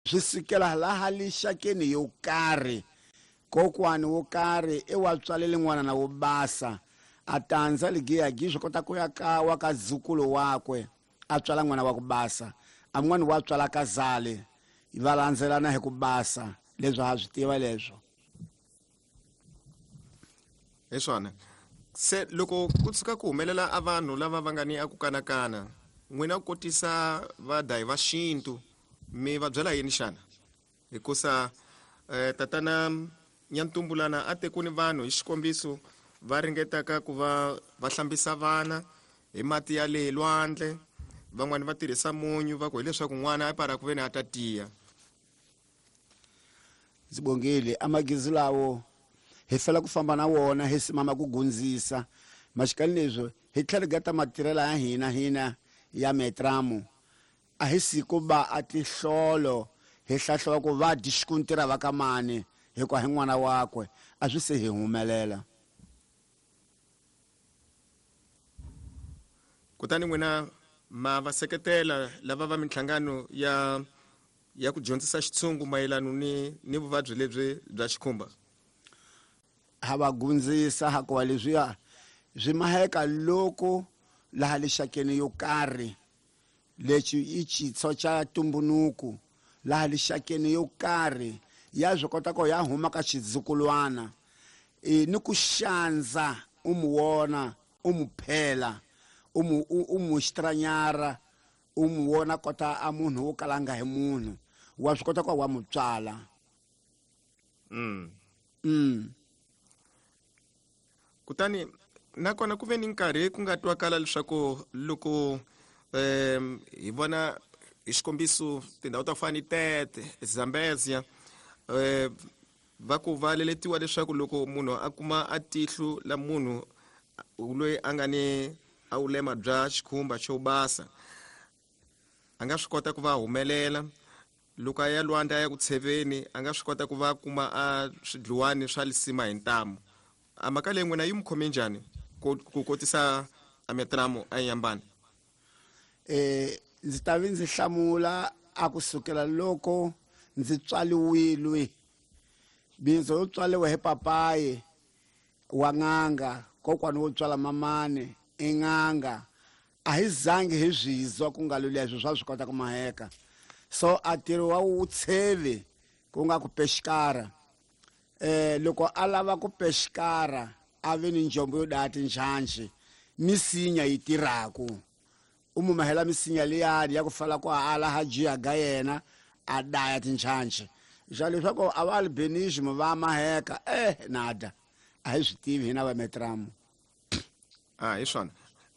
Swi sukela laha lixakeni yo karhi. Kokwani wo karhi i wa tswalele n'wana na wo basa, a tandza ligiyagi swi kota ku ya ka wa ka zukulu wakwe, a tswala n'wana wa ku basa, a n'wana wa tswala ka zale, va landzelana hi ku basa. Leswi ha swi tiva leswo. Hi swona. Se loko ku tshuka ku humelela a vanhu lava va nga ni a ku kanakana, n'wina ku kotisa vadayi va xintu, mi va byela yini xana? Hikusa tatana Nyantumbulana a te ku ni vanhu hi xikombiso va ringetaka ku va va hlambisa vana hi mati ya le lwandle, van'wani va tirhisa munyu va ku hileswaku n'wana a para ku veni a ta tiya. Ndzi bongile amagizi lawo hi fela ku famba na wona hi simama ku gundzisa maxikani leswo hi tlhela gata matirhela ya hina hina ya metramu a hi siku ba a tihlolo hi hlahliwa ku va dyi xikuntira va ka mani hikuva hi n'wana wakwe a swi se hi humelela. Kutani n'wina ma va seketela lava va minhlangano ya ya ku dyondzisa xitshungu mayelano ni ni vuvabyi lebyi bya xikhumba? Ha va gundzisa hakuva leswiya swi maheka loko laha lixakeni yo karhi lexi i xitshwo xa tumbunuku laha lixakeni yo karhi ya swi kota ku ya huma ka xizukulwana e, ni ku xandza u mu wona u mu phela u mu u mu xitranyara u mu wona kota a munhu wo kala nga hi munhu wa swi kota ku wa mu tswala. Kutani nakona ku ve ni nkarhi ku nga twakala leswaku loko hi vona hi xikombiso tindhawu ta ku fana ni Tete, Zambezia, va ku va leletiwa leswaku loko munhu a kuma a tihlo la munhu loyi a nga ni a vulema bya xikhumba xo basa a nga swi kota ku va humelela loko a ya lwandle a ya ku tsheveni a nga swi kota ku va kuma a swidluwani swa lisima hi ntamu. A mhaka leyi n'wina yi mi khome njhani ku kotisa a metramo a Inhambane? Ndzi ta vi ndzi hlamula a ku sukela loko ndzi tswaliwile bindzu yo tswaliwa hi papayi wa n'anga kokwani wo tswala mamani i n'anga a hi zangi hi swizwa ku nga leswo swa swi kota ku maheka so a ntirho wa wutshevi ku nga ku pexikara loko a lava ku pexikara a vi ni njombo yo daya tinjhanji misinya yi tirhaku u mu mahela misinya liyani ya ku fala ku ala ha jiya ga yena a daya tinjhanji xa leswaku a va albinism va maheka nada a hi swi tivi hina va metramu. A hi swona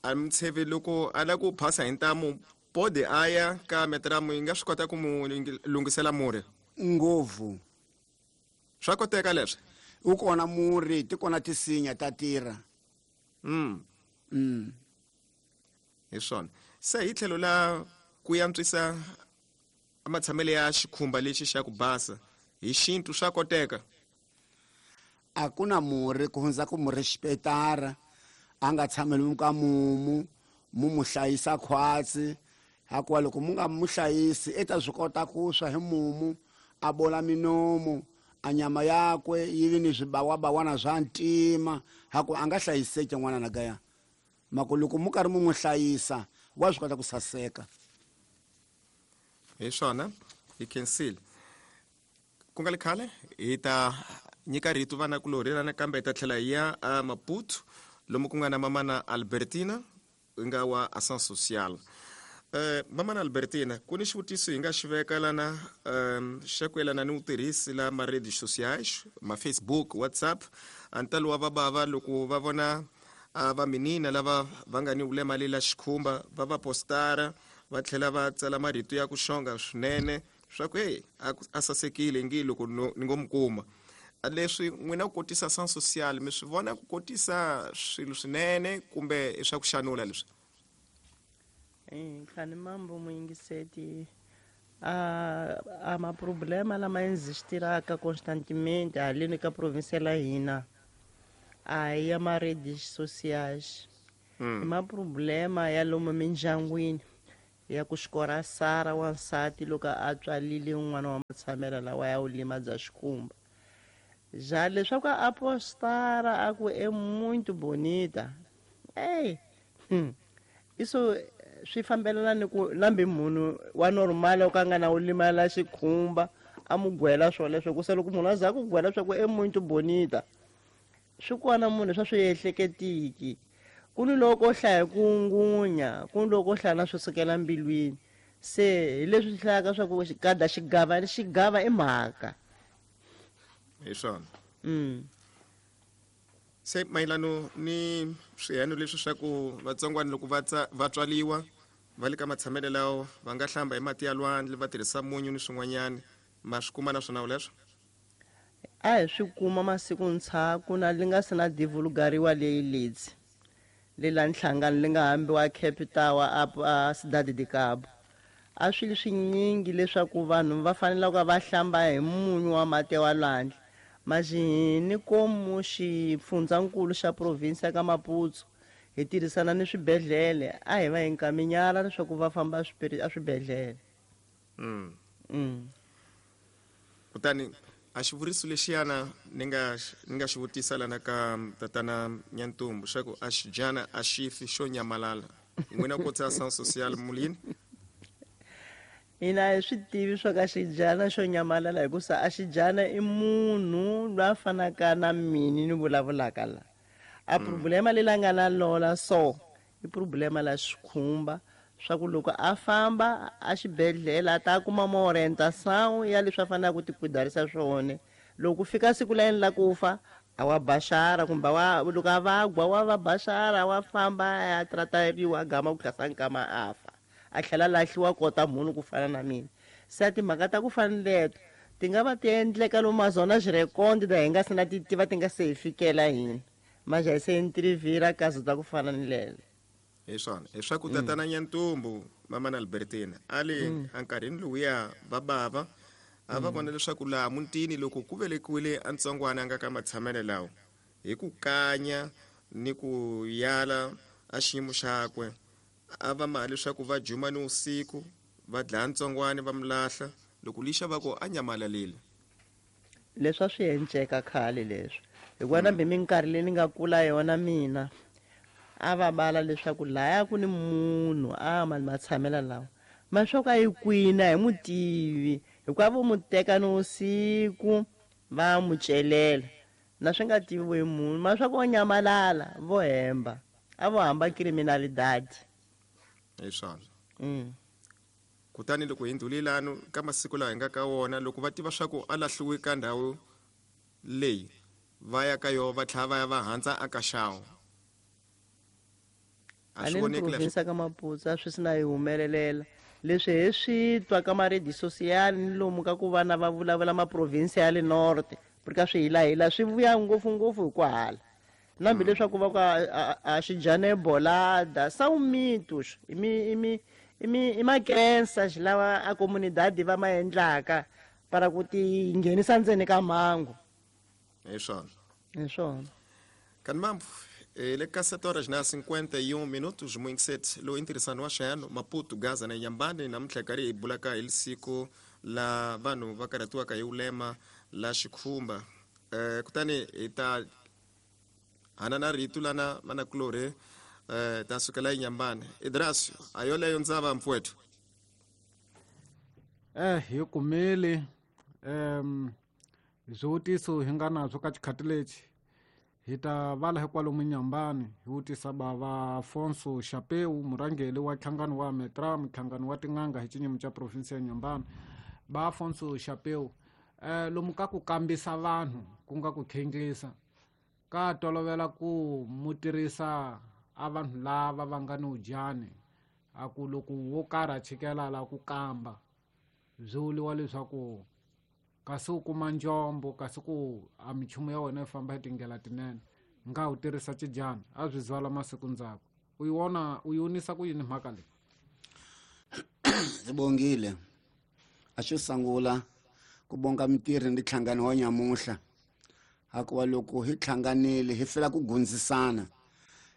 a mutsheve loko a lava ku phasa hi ntamu pode a ya ka metramu yi nga swi kota ku mu lunghisela murhi ngopfu. Swa koteka leswi wu kona murhi ti kona tisinya ta tirha. Hi swona se hi tlhelo la ku yantswisa matshamelo ya xikhumba lexi xa ku basa hi xintu swa koteka? A ku na murhi ku hundza ku murhi xipetara a nga tshameli ka mumu mu mu hlayisa khwatsi hakuva loko mu nga mu hlayisi i ta swi kota ku swa hi mumu a bola minomu a nyama yakwe yi vi ni swibawabawana swa ntima hakuva a nga hlayiseki n'wana na gaya mako loko mu karhi mu n'wi hlayisa wa swi kota ku saseka. Hi swona hi khensile ku nga le khale hi ta nyika rito vana kulorhi rana kambe hi ta tlhela hi ya a Maputo lomu ku nga na mamana Albertina yi nga wa Ação Social. Mamana Albertina, ku ni xivutiso hi nga xi veka lana xa ku yelana ni vutirhisi la ma-redes sociais, ma-Facebook, WhatsApp. A ntalo wa vabava loko va vona a va minina lava va nga ni vulema le la xikhumba va va postara va tlhela va tsala marito ya ku xonga swinene swa ku hey a sasekile ngi loko ni ngo mi kuma. Leswi n'wina ku kotisa Ação Social mi swi vona ku kotisa swilo swinene kumbe i swa ku xanula leswi? Khani mambo muyingiseti a ma problema lama existiraka constantemente haleni ka province la hina a ya ma redes sociais. I ma problema ya lomu mindyangwini. Ya ku xikora Sara wansati loko a tswalile n'wana wa matshamela lawa ya ulima bya xikhumba. Já leswaku a postara a ku é muito bonita. Ey. Isso swi fambelana ni ku nambi munhu wa normal o ka nga na ulima la xikhumba a mu gwela swoleswo ku se loko munhu a za ku gwela swa ku é muito bonita. Swi kona munhu swa swi ehleketiki. Ku ni loko o hlaya ku ngunya, ku ni loko o hlaya na swi sukela mbilwini. Se hi leswi swi hlayaka swa ku xigada xigava ni xigava i mhaka. Hi swona. Se mayelano ni swiheno leswi swa ku vatsongwana loko va va tswaliwa va le ka matshamelo lawo va nga hlamba hi mati ya lwandle va tirhisa munyu ni swin'wanyana, ma swi kuma na swona leswo? A hi swi kuma masiku ndzhaku na li nga se na divulgariwa leyi lidzi le la nhlangano li nga hambiwa Cape Tower a, a Cidade de Cabo. A swi li swinyingi leswaku vanhu va fanele ku va hlamba hi munyu wa mati wa lwandle. Mas hini komu xifundzankulu xa provinsi ya ka Maputo hi tirhisana ni swibedhlele, a hi va hi nkaminyala leswaku va famba a swibedhlele. Kutani a xivuriso lexiyana ni nga ni nga xi vutisa lana ka tatana Nyantumbu xa ku a xidyana a xi fi xo nyamalala, n'wina ko tsa Ação Social mulini? Hina hi swi tivi swa ka xidyana xo nyamalala, hikusa a xidyana i munhu loyi a fanaka na mini ni vulavulaka la. A problema leyi la nga na lola so i problema la xikhumba swa ku loko a famba a xibedhlele a ta kuma ma orientação ya leswi a faneleke ku ti kuidarisa swona. Loko ku fika siku la yena la ku fa, a wa baxara kumbe wa loko a vagwa wa va baxara wa famba a ya tratariwa a gama ku tlhasa nkama a fa, a tlhela a lahliwa kota munhu ku fana na mina. Se a timhaka ta ku fana ni leto ti nga va ti endleka lomu mazona xirekondi ta hi nga se na ti tiva, ti nga se hi fikela hina, mas hi se entrevira caso ta ku fana ni lele. Hi swona, hi swa ku tatana Nyantumbu, mamana Albertina a le enkarhini lowuya va bava a va vona leswaku laha mutini loko ku velekiwile a ntsongwana a nga ka matshamelo lawo hi ku kanya ni ku yala a xiyimo xakwe, a va maha leswaku va juma ni usiku va dlaya ntsongwana va mu lahla, loko lixa va ku a nyamalalile. Leswi a swi enceka khale leswi, hikuva nambi minkarhi leyi ni nga kula yona mina a va bala leswaku laya ku ni munhu a ma matshamela lawa ma swa ku a yi kwini a hi mu tivi, hikuva vo mu teka ni usiku va mu celela na swi nga tiviwi munhu, ma swa ku o nyamalala vo hemba a vo hamba criminalidade. Hi swona. Kutani loko hi ndhulilano ka masiku lawa hi nga ka wona, loko va tiva swa ku a lahliwe ka ndhawu leyi va ya ka yo va tlhela va ya va handza a ka xawu, a swi Haleni voneki leswi provinsi ka Maputo a swi si na yi humelelela leswi hi swi twa ka maredi social ni lomu ka ku vana va vulavula maprovinsi ya le norte, porque a swi hilahila swi vuya ngopfungopfu hi ku hala nambi leswaku va ku a xidyane bolada são mitos, i mi i mi i mi i macrenças lawa a comunidade va ma endlaka para ku ti nghenisa ndzeni ka mhangu. Hi swona. Hi swona. Kanti mambo hi le ka 7 horas na 51 minutos, muingiseti lowu i ntirhisano wa xihano Maputo, Gaza na Nyambani. Namuntlha hi karhi hi bulaka hi lisiku la vanhu va karhatiwaka hi ulema la xikhumba. Kutani hi ta hana na rito lana manakulorhi, ta sukela eNyambani. Idrasio, a yoleyo ndzava mpfuwethu. Hi kumile swivutiso hi nga nazwo ka xikhati lexi, hi ta vala hikwalomu Nyambani hi vutisa bava Afonso Xapeu, murhangeri wa nhlangano wa Metra, nhlangano wa tin'anga hi xinyimo xa provinsi ya Nyambani. Ba Afonso Xapeu, lomu ka ku kambisa vanhu ku nga ku khenglisa ka tolovela ku mu tirhisa a vanhu lava va nga ni udyani, a ku loko wo karhi a chikela la ku kamba byi vuriwa leswaku kasi u kuma njombo, kasi ku a minchumu ya wena yi famba hi tindlela tinene, nga wu tirhisa xidyana a byi zwala masiku ndzhaku. U yi vona u yi vonisa ku yini mhaka leyi? Ndzi bongile a xo sungula ku bonga mitirhi ni nhlangano wa nyamuhla, hikuva loko hi hlanganile hi fela ku gundzisana.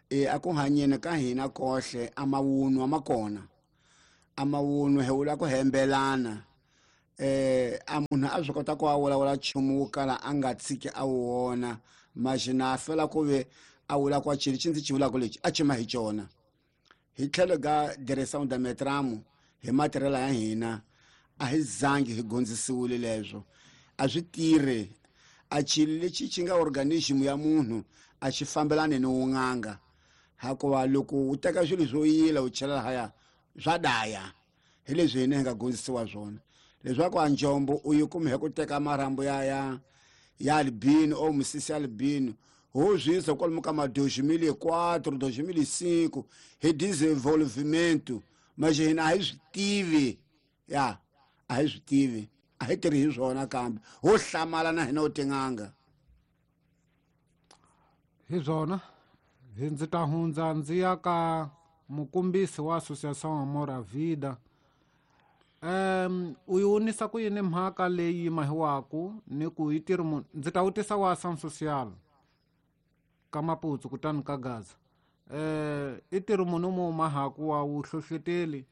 E a ku hanyeni ka hina kohle a mawunwa ma kona. A mavunwa hi vula ku hembelana. A munhu a swi kota ku a vulavula nchumu wo kala a nga tshiki a wu vona, maxina a fela ku ve a vula ku xilo lexi ndzi xi vulaka lexi a xi ma hi xona. Hi tlhelo ka direção da Metramo hi matirhelo ya hina a hi zangi hi dyondzisiwile leswo, a swi tirhi. A xilo lexi xi nga organism ya munhu a xi fambelani ni wun'anga, hikuva loko u teka swilo swo yila u chela lahaya swa daya. Hi leswi hina hi nga dyondzisiwa swona, leswaku a njombo u yi kume hi ku teka marhambu ya albino o misisi ya albino ho swi yisa kwalomu ka ma 2004, 2005 hi desenvolvimento. Mas hina a hi swi tivi, ya a hi swi tivi, a hi tirhi hi swona, kambe ho hlamala na hina u tin'anga. Hi swona hi ndzi ta hundza ndzi ya ka mukombisi wa Associação Amor à Vida. U yi vonisa ku yini mhaka leyi mahiwaku ni ku yi tirhi munhu? Ndzi ta vutisa wa Ação Social ka Maputsu kutani ka Gaza. I tirhi munhu mo mahaku wa vuhlohloteli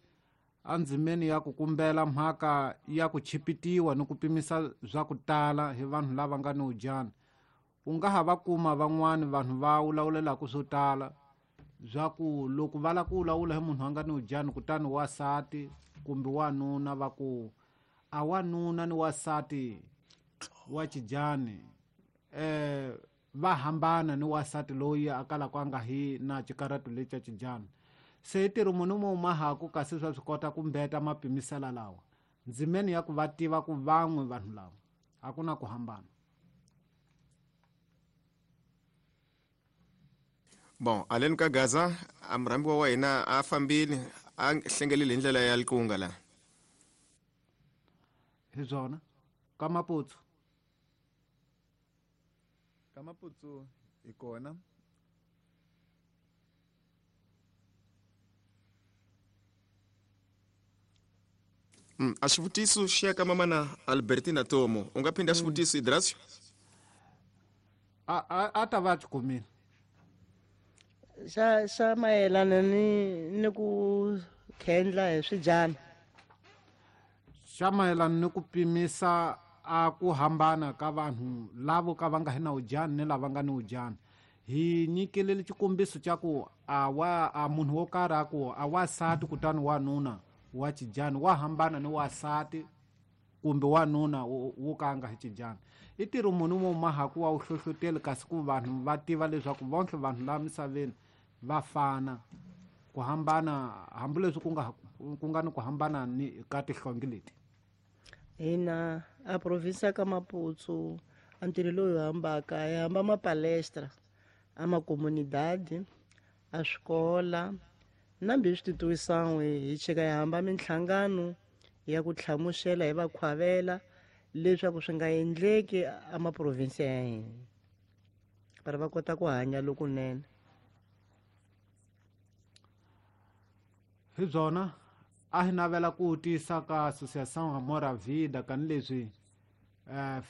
endzimeni ya ku kumbela mhaka ya ku chipitiwa ni ku pimisa swa ku tala hi vanhu lava nga ni udyana. U nga ha va kuma van'wani vanhu va vulavulelaka swo tala swa ku loko va lava ku vulavula hi munhu a nga ni udyana, kutani wasati kumbe wanuna va ku a wanuna ni wasati wa xidyani va hambana ni wasati loyi a kalaka a nga hi na xikarhato lexi xa xidyana. Se i tirhi munhu mo mahaku kasi swa swi kota ku mbeta mapimisela lawa ndzimeni ya ku va tiva ku van'we vanhu lava a ku na ku hambana. Bon, aleni ka Gaza a murhambiwa wa hina a fambile a hlengelile hi ndlela ya likunga la. Hi swona ka Maputsu. Ka Maputsu hi kona. A xivutiso xi ya ka mamana Albertina Tomo. U nga phinda xivutiso Idrasio? A ta va xi kumile. Xa mayelana ni ku khendla hi swidyana. Xa mayelana ni ku pimisa a ku hambana ka vanhu lavo ka va nga hi na udyana ni lava nga ni udyana. Hi nyikele xikombiso xa ku a wa a munhu wo karhi a ku a wasati kutani wanuna wa xidyana wa hambana ni wasati kumbe wanuna wo ka nga hi xidyana. I ntirho munhu mo mahaku wa wuhlohloteli kasi ku vanhu va tiva leswaku vonke vanhu laha misaveni va fana, ku hambana hambileswi ku nga ni ku hambana ni ka tihlonge leti. Hina a province ka Maputsu a ntirho lowu hi hambaka hi hamba mapalestra a makomunidadi a swikola na mbi swi tituwisan'we hi cheka hi hamba minhlangano ya ku hlamusela hi va khwavela leswaku swi nga endleki a maprovinsi ya hina va va kota ku hanya lokunene. Hi byona a hi navela ku tisa ka Associação Amor à Vida kanileswi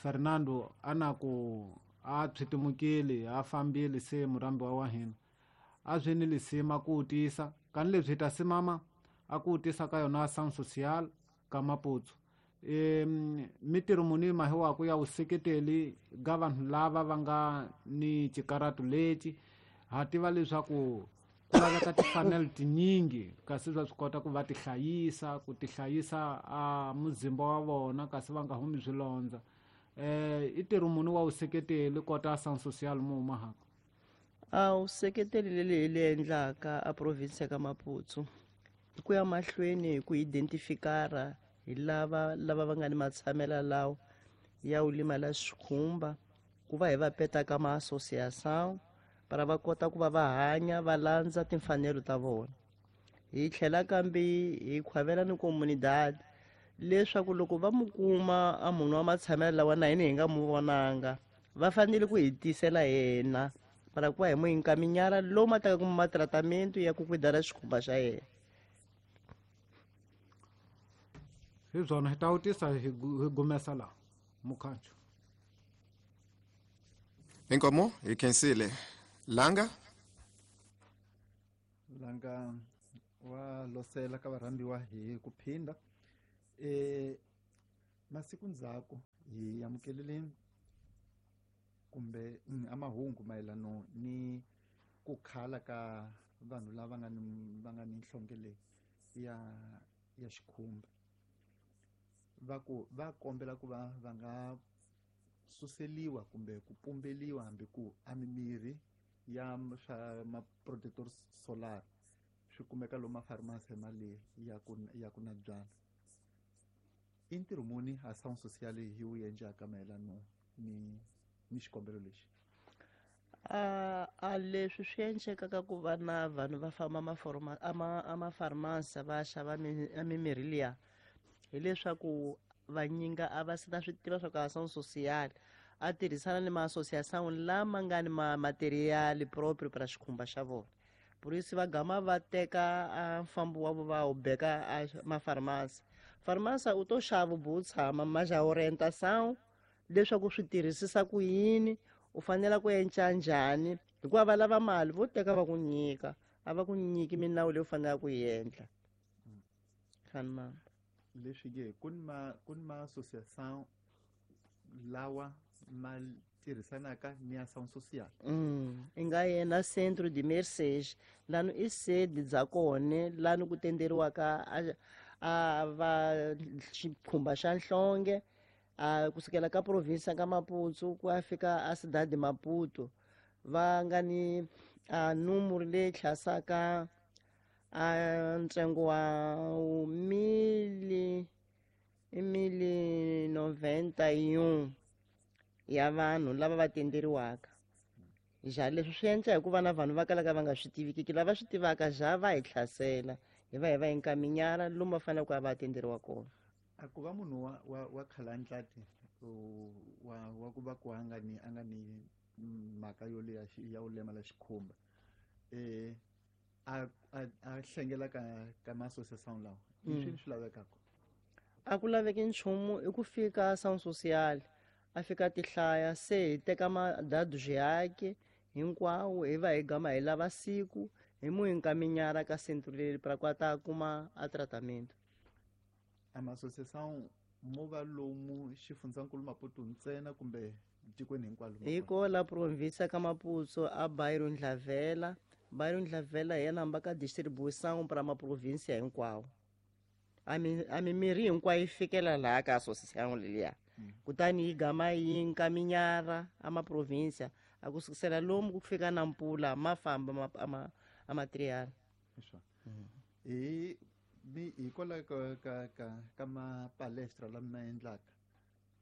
Fernando a na ku a pshitimukile a fambile se murhambiwa wa hina a swi ni lisima ku tisa kanileswi hi ta simama a ku tisa ka yona Ação Social ka Maputsu. Mitirho muni mahiwaku ya vuseketeli ga vanhu lava va nga ni xikarhato lexi. Ha tiva leswaku ku laveka timfanelo tinyingi kasi swa swi kota ku va tihlayisa ku tihlayisa a muzimba wa vona kasi va nga humi swilondza. I ntirho muni wa vuseketeli kota Ação Social mo mahaka? A vuseketeli leli hi li endlaka a province ya ka Maputsu i ku ya mahlweni hi ku identifikara hi lava va nga ni matshamela lawa ya u limala xikhumba ku va hi va peta ka ma-associação para va kota ku va va hanya va landza timfanelo ta vona. Hi tlhela kambe hi khwavela ni comunidad leswaku loko va mu kuma a munhu wa matshamelo lawa na hina hi nga mu vonanga va fanele ku hi tisela yena para ku va hi mu inkaminyara lomu a taka kuma matratamento ya ku kwidara xikhumba xa yena. Hi byona hi ta vutisa hi gumesa laha mukhancho. Inkomo hi khensile. Langa? Langa Wa losela ka varhambiwa hi ku phinda. Masiku ndzhaku hi amukelele kumbe amahungu mayelano ni ku khala ka vanhu lava nga ni nhlonge leyi ya xikhumba. Va ku va kombela ku va va nga suseliwa kumbe ku pumbeliwa hambi ku a mimirhi ya swa ma-protector solar swi kumeka lomu mafarmasi mali ya ku na byala. I ntirho muni ação social yi wu endlaka mayelano ni xikombelo lexi? A leswi swi endlekaka ku va na vanhu va famba amafarmasi va xava mimirhi liya hileswaku vanyinga a va se ta swi tiva swa ku ação social a tirhisana ni ma-association lama nga ni ma-material proprio para xikhumba xa vona. Por isso va gama va teka a mfambo wa vo va wu beka a mafarmasi. Farmasi u to xava bu tshama ma xa orientação leswaku swi tirhisisa ku yini, u fanele ku endla njhani, hikuva va lava mali vo teka va ku nyika, a va ku nyiki minawu leyi u faneleke ku yi endla. Khani mama. Leswi ke ku ni ma-association lawa ma tirhisanaka ni ação social. I nga yena Centro de Mercês lani i sede bya kona lani ku tenderiwaka a va xikhumba xa nhlonge a kusukela ka province ka Maputo ku ya fika a Cidade de Maputo va nga ni a numero leyi hlasaka a ntsengo wa 1091 ya vanhu lava va tenderiwaka. Ja leswi swi endla hikuva na vanhu va kalaka va nga swi tivikiki, lava swi tivaka ja va hi hlasela hi va hi va hinkaminyana lomu va faneleke ku va va tenderiwa kona. A ku va munhu wa khalandlati wa ku va ku a nga ni mhaka yo leya ya u lemala xikhumba a hlengela ka ma-association lawa i swini swi lavekaka? A ku laveki nchumu, i ku fika ação social a fika tihlaya se hi teka madadu yake hinkwawo hi va hi gama hi lava siku hi mu hinkaminyara ka centro leri para ku a ta kuma a tratamento. A ma-association mo va lomu xifundzankulu Maputo ntsena kumbe tikweni hinkwalo? Hi kola province ka Maputo a bairro Ndlavela. Bairro Ndlavela hi yena hamba ka distribuição para maprovinsia hinkwawo. A mimirhi hinkwayo yi fikela laha ka association leliya. Kutani yi gama yi nkaminyara a maprovinsia a ku sukisela lomu ku fika na mpula ma famba a material. Hi hikwalaho ka mapalestra lama endlaka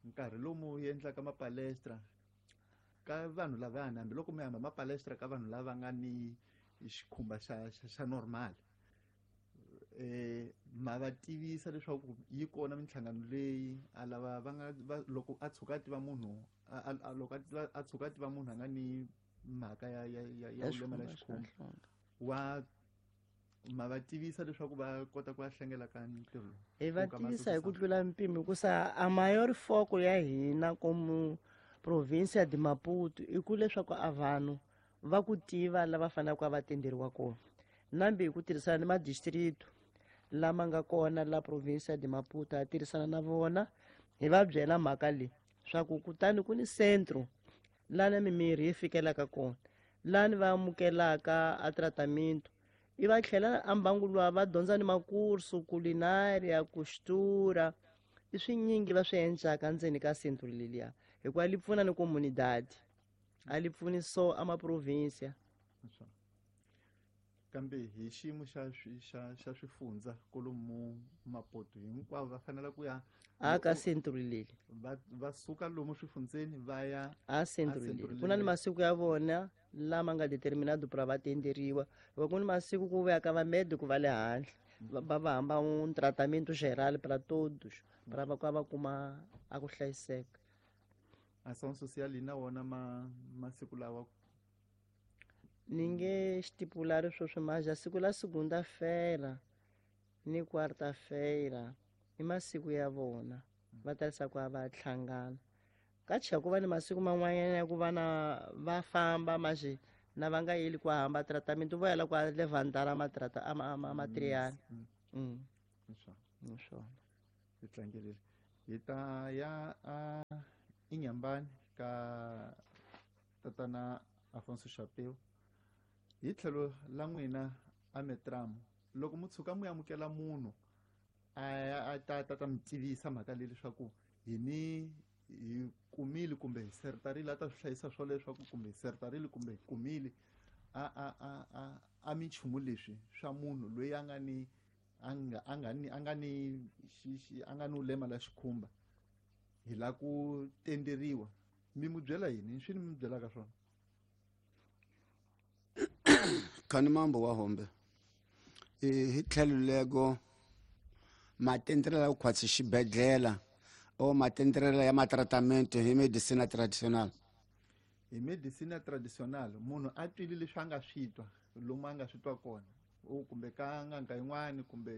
nkarhi lomu endlaka mapalestra ka vanhu lavayani, hambiloko mi hamba mapalestra ka vanhu lava nga ni xikhumba xa normal ma va tivisa leswaku yi kona minhlangano leyi a lava va nga loko a tshuka a tiva munhu loko a tshuka a tiva munhu a nga ni mhaka ya lemala xikhumba wa ma va tivisa leswaku va kota ku va hlengela ka ntirho lowu? Hi va tivisa hi ku tlula mpimo hikusa a mayor foco ya hina como província de Maputo i ku leswaku a vanhu va ku tiva lava faneleke va tenderiwa kona. Nambi hi ku tirhisana ni madistrito lama nga kona la província de Maputo ha tirhisana na vona hi va byela mhaka leyi swa ku kutani ku ni centro lana mimirhi yi fikelaka kona lani va amukelaka a tratamento i va tlhela a mbangu luwa va dyondza ni makursu culinária costura i swinyingi va swi endlaka ndzeni ka centro leliya hikuva li pfuna ni comunidade a li pfuni so a maprovinsia. Kambe hi xiyimo xa swifundza kolomu Maputo hinkwavo va fanele ku ya a ka centro leli va suka lomu swifundzeni va ya a centro leli. Ku na ni masiku ya vona lama nga determinado para va tenderiwa hikuva ku ni masiku ku vuya ka va médico va le handle va va hamba un tratamento geral para todos para va va kuma a ku hlayiseka. Ação social yi na wona masiku lawa ni nge stipulari sweswi maja siku la segunda-feira ni quarta-feira i masiku ya vona va tarisa ku va hlangana. Ka cheka ku va ni masiku man'wanyana ya ku va na va famba maje Na va nga yeli ku hamba tratament vo yela kwa levandara matrata ama matriyani. Hi swona. Hi tlangelile. Hi ta ya a Inyambani ka tatana Afonso Chapeu. Hi tlhelo la n'wina a Metram, loko mu tshuka mu amukela munhu a ta mi tivisa mhaka leyi leswaku hi ni hi kumile kumbe hi sertarile, a ta swi hlayisa swo leswaku kumbe hi sertarile kumbe hi kumile a minchumu leswi swa munhu loyi a nga ni a nga ni ulema la xikhumba, hi la ku tenderiwa, mi mu byela yini? Swi ni mi byelaka swona? Khani mambo wa hombe hi tlhelo lego matendrela ku khwatsi xibedhlele o matendrela ya matratament hi medicina traditional. Hi medicina traditional munhu a twile leswi a nga swi twa lomu a nga swi twa kona, o kumbe ka n'anga yin'wani kumbe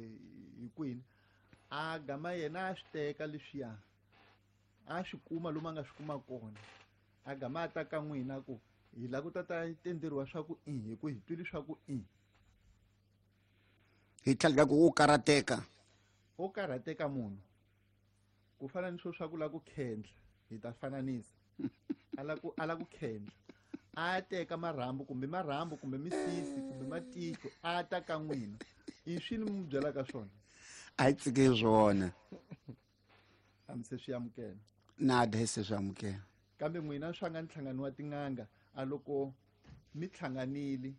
hi kwini, a gama yena a swi teka leswiya a swi kuma lomu a nga swi kuma kona, a gama a ta ka n'wina ku hi lava ku ta ta tenderiwa swa ku i hi ku hi twile swa ku i hi tlhela ku u karhateka. U karhateka munhu ku fana ni swo swa ku lava ku khendla, hi ta fananisa a la ku khendla, a teka marhambu kumbe misisi kumbe matihlo a ta ka n'wina, i swi ni mu byelaka swona? A hi tsike swona. A mi se swi amukela? Nada hi se swi amukela. Kambe n'wina swa nga nhlangano wa tin'anga, a loko mi hlanganile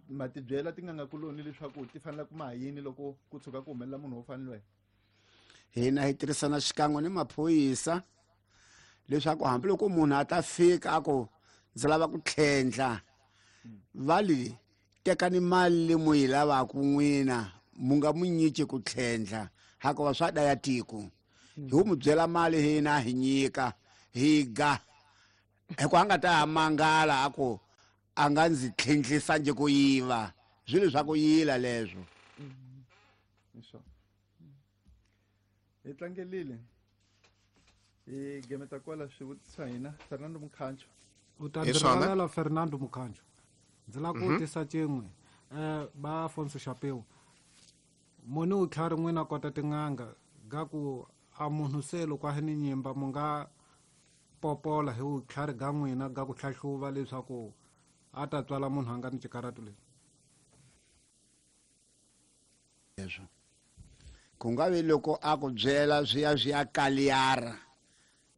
ma ti byela tin'anga kuloni leswaku ti fanele ku ma yini loko ku tshuka ku humelela munhu wo fanele? Hina hi tirhisana xikan'we ni maphorisa leswaku hambiloko munhu a ta fika a ku ndzi lava ku tlhendla, va li tekani mali leyi mu yi lavaka n'wina, mu nga mu nyiki ku tlhendla hikuva swa daya tiko. Hi wu mu byela mali hina hi nyika hi ga, hikuva a nga ta ha mangala a ku a nga ndzi tlhendlisa nje ku yiva, swilo swa ku yila leswo. Hi tlangelile hi gemeta kwala swivutiso swa hina. Fernando Mukhancho. U ta ndzi rivalela Fernando Mukhancho, ndzi lava ku vutisa cin'we. Ba Afonso Chapeu, muni u tlhari n'wina kota tin'anga ga ku a munhu se loko a ni nyimba mu nga popola hi vutlhari ga n'wina ga ku hlahluva leswaku a ta tswala munhu a nga ni xikarhatu lexi? Leswo ku nga vi loko a ku byela swi ya swi ya kaliyara,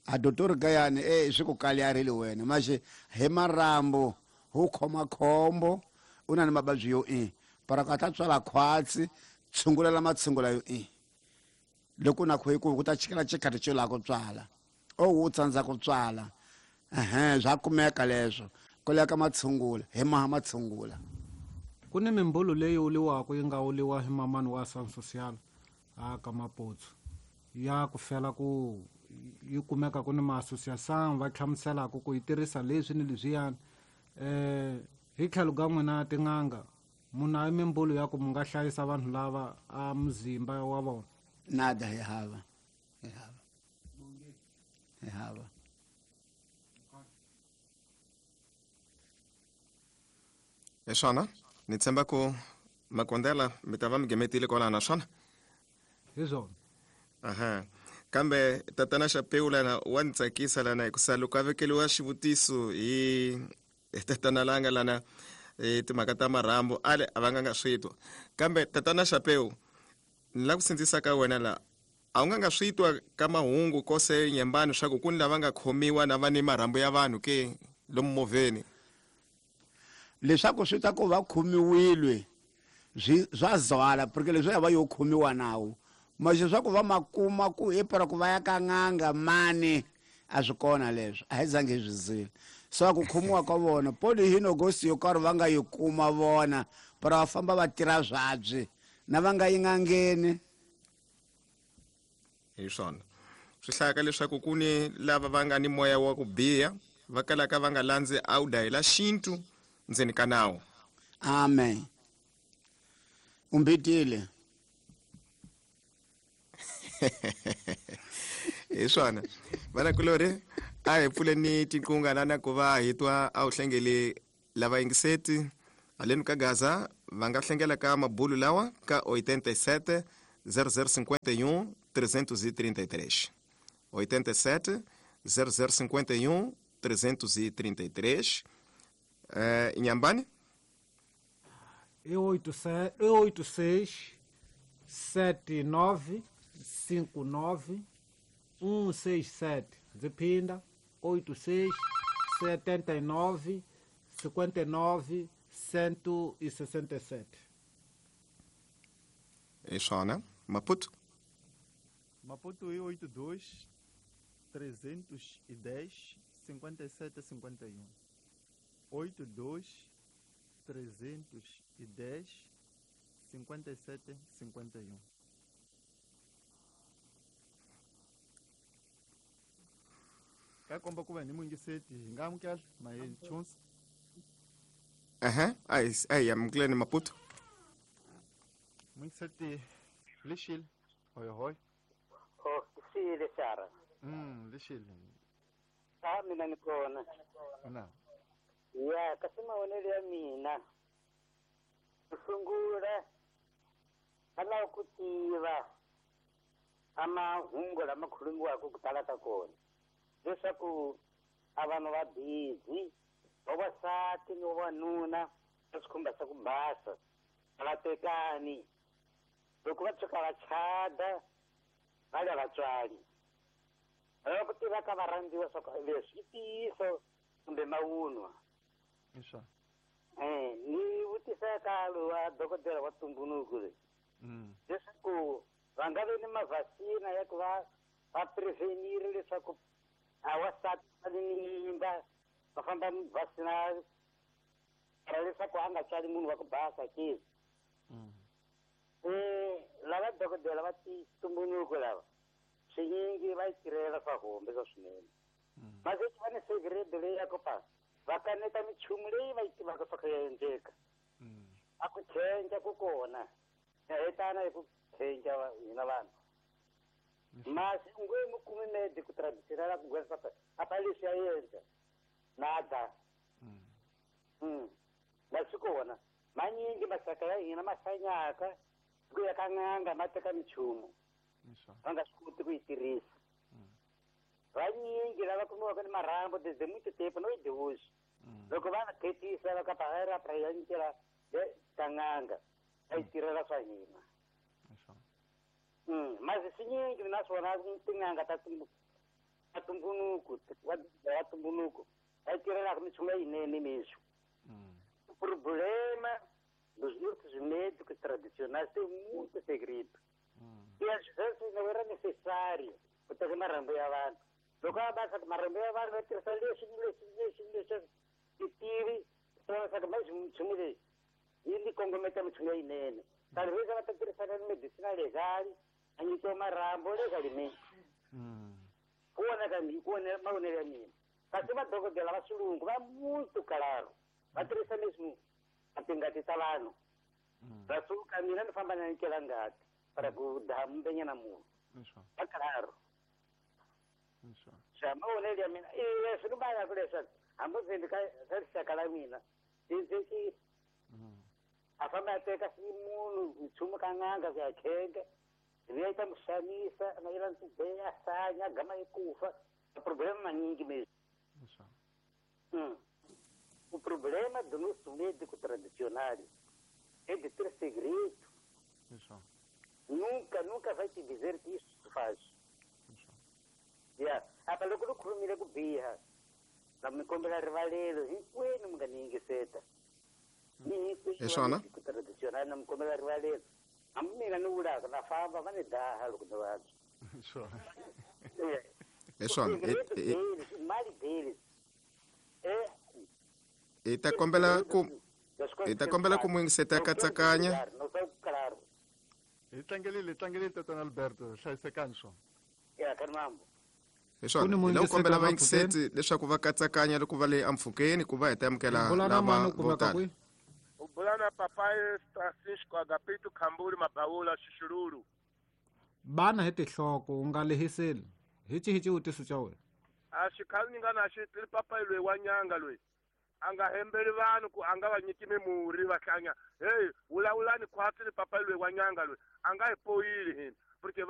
a dotori kayani swi ku kaliyarile wena, maxe hi marhambu hu khoma khombo, u na ni mavabyi yo i para ku a ta tswala khwatsi, tshungulela matshungula yo i loko na ku ku ta chikela xikhathi xo lava ku tswala o wu tsandza ku tswala, swa kumeka leswo ku leka matshungula hi maha matshungula. Ku ni mimbulu leyi uliwaka yi nga uliwa hi mamani wa San Social a ka Maputsu ya ku fela ku yi kumeka ku ni ma-association va hlamuselaka ku yi tirhisa leswi ni leswiyani. Hi tlhelo ka n'wina tin'anga, munhu a mimbulu ya ku mu nga hlayisa vanhu lava a muzimba wa vona? Nada, hi hava. Hi hava. Hi hava. Hi swona, ni tshemba ku Makondela mi ta va mi gemetile kwalaho na swona? Hi swona. Aha. Kambe tatana Chapeu lana wa ni tsakisa lana hikusa loko a vekeliwa xivutiso hi tatana Langa lana timhaka ta marhambu ale a va nga nga swi twa. Kambe tatana Chapeu, ni lava ku sindzisa ka wena la, a wu nga nga swi twa ka mahungu kose Nyembani swa ku ku ni lava nga khomiwa na va ni marhambu ya vanhu ke lomu movheni? Leswaku swi ta ku va khomiwile swa zwala, porque leswi ya va yo khomiwa nawu, maxe swa ku va makuma ku i para ku va ya ka n'anga mani a swi kona leswo, a hi zangi hi swi zile. So ku khomiwa ka vona poli hi nogosi yo karhi va nga yi kuma vona, para va famba va tirha swabyi na va nga yi n'angeni. Hi swona swi hlayaka leswaku ku ni lava va nga ni moya wa ku biha va kalaka va nga landzi awuda hi la xintu ndzeni ka nawu. Amen. Umbitile. Hi swona vanakulorhi, A hi pfuleni tinqunga lana ku va hi twa a wu hlengeli lava yingiseti haleni ka Gaza va nga hlengela ka mabulu lawa ka 87 0051 333, 87 0051 333. Inhambane? E 86 79 59 167. Ndzi 86 79 59 167. Hi swona. Maputo? Maputo i 82 310 57 51. 82 310 57 51. Ka komba ku va ni muyingiseti hi nga amukela mahechunsi. Ehe, a hi amukeleni Maputo. Muyingiseti lexile hoyohoyo. Oh, xile xara. Lexile. A mina ni kona. Na. Ya, kasi mavonelo ya mina. Ku sungula a lava ku tiva a mahungu lama khulumiwaka ku tala ka kona. Leswaku a vanhu va busy, vavasati ni vavanuna va swikhumba swa ku basa, a va tekani. Loko va tshuka va chada, va le vatswari. Va lava ku tiva ka varhandziwa swa ku leswi i ntiyiso kumbe mavunwa. Ni vutisa ka lowa dokodela wa ntumbuluko loyi. Leswaku va nga vi ni mavhasina ya ku va va prevenir leswaku a wasati va ni mimba va famba vhasina ra leswaku a nga tswali munhu wa ku basa ke. Lava dokodela va ntumbuluko lava swinyingi va yi tirhela swa hombe swa swinene. Mase va ni segredo leyi ya ku pa va kaneta minchumu leyi va yi tivaka swa ku ya endleka. A ku khenca ku kona ya hetana hi ku khenca hina vanhu. Masi u nge mu kumi medico tradicional ku gwesa pa apa leswi ya endla nada. Ma swi kona manyingi masaka ya hina ma hlanyaka ku ya ka n'anga ma teka minchumu va nga swi koti ku yi tirhisa. Vanyingi lava kumiwaka ni marhambu desde muito tempo no de hoje. Loko va khetisa va ka pa ra ya nyikela ka n'anga va yi tirhela swa hina. Masi swinyingi naswona tin'anga ta ntumbuluko wa ntumbuluko va yi tirhelaka minchumu leyinene mesmo. O problema dos nossos médicos tradicionais tem muito segredo. E às vezes não era necessário botar marrambo ya vanhu. Loko va basa marhambu ya vanhu va tirhisa leswi ni leswi ni leswi ni leswi titivi swa ku mais minchumu leyi yi ni kongometa minchumu leyinene. Talvez va ta tirhisana ni medicina legal a nyikiwa marhambu legalmente. Ku vona ka mina, ku vona mavonelo ya mina. Kasi vadokodela va xilungu va muito claro. Va tirhisa mesmo a tingati ta vanhu. Va suka mina ni famba na nyikela ngati para ku daha mbenyana munhu. Va claro. Xa mavonelo ya mina leswi ni valaka leswaku hambi ndzi endli ka rixaka la mina ndzi a famba a teka munhu nchumu ka n'anga ku ya khenga ivi ya ta mu xanisa na yela ndzi a sanya gama yi kufa. Problema manyingi mesmo. O problema do nosso médico tradicional é de ter segredo. Nunca, nunca vai te dizer que isso se faz. Yeah. Apa loko lu khulumile ku biha na mi kombela rivalelo hinkwenu mi nga ni yingiseta. Ni hinkwenu tradicional na mi kombela rivalelo. Hambi mina ni vulaka na famba va ni daha loko ni vabya. Hi swona. Mali deles. Hi ta kombela ku muyingiseta katsakanya. Hi tlangelile tatana Alberto, hlayisekani swona. Ya ka mambo. Hi swona. Hi lava ku kombela vayingiseti leswaku va katsakanya loko va le empfhukeni ku va hi ta amukela lava vo tala. U bula na papaye Francisco Agapito Khambuli Mabawula Xixululu. Bana hi tinhloko u nga lehiseli. Hi xihi xivutiso xa wena? A xikhale ni nga na xi tili papayi loyi wa nyanga loyi a nga hembeli vanhu ku a nga va nyiki mimurhi va hlanya. Hey, vulavulani khwatsi ni papayi loyi wa nyanga loyi a nga hi poyili hina, porque va